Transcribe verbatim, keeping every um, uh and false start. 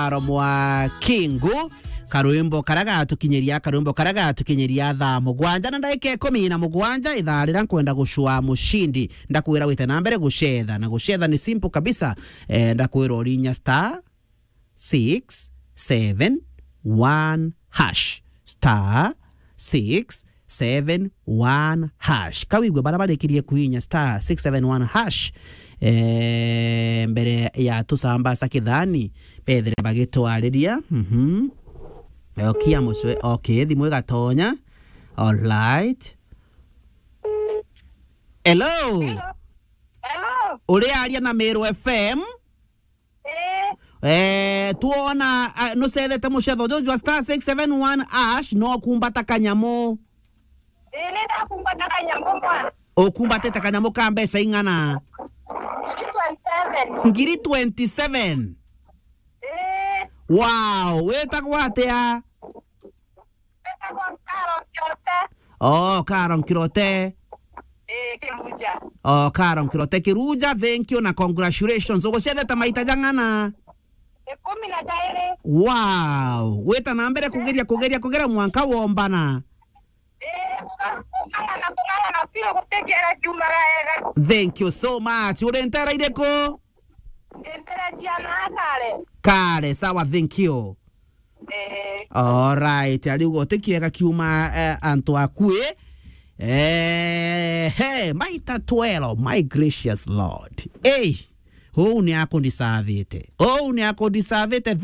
Aro mwa Kingu, karwimbo karia gatukinyiria, karwimbo karia gatukinyiria thaa mugwanja na ndagika ikumi na mugwanja, ithaa riria nkwenda gucua mucindi. Ndakwira wite na mbere gucetha, na gucetha ni simple kabisa. Eh, ndakwira urinya star six seven one hash. Star six seven one hash. Kawigwe bara barikirie kuinya star six seven one hash, eh, mbere ya tucambasa kithani, bethire bagitwariria. Mhm. Okia mucwe. Okay, thimu igatonya. All right. Hello. Hello. Hello. Uriaria na Meru F M? Eh. Eh, tuona, ah, nucethete mucetho juju jwa star six seven one hash, no kumbata kanyamu. Eh, nenda kumbata kanyamu bwana. Ukumbatite kanyamu ka mbeca ing'ana? Ngiri twenty-seven. Ngiri twenty-seven. Eh. Wow, witagwa atia? Witagwa Carol Kirote. Oh, Carol Kirote. Eh, Kiruja. Oh, Carol Kirote Kiruja, thank you na congratulations. Ugucethete maita jang'ana? Ikumi na jairi. Wow, wita na mbere kugeria, kugeria, kugeria mwanka wombana. Eh, kung'ang'ana, kung'ang'ana pio gutikira kiumaga ega. Thank you so much. Uri ntera iriku? Ndi ntera ciana kare. Kare, sawa, thank you. Eh. All right, ariuga uti kiega kiuma, eh, antu akui. Eh, hey, maita twero, my gracious Lord. Hey, uu ni akundisavite. Uu ni akundisavite. Thank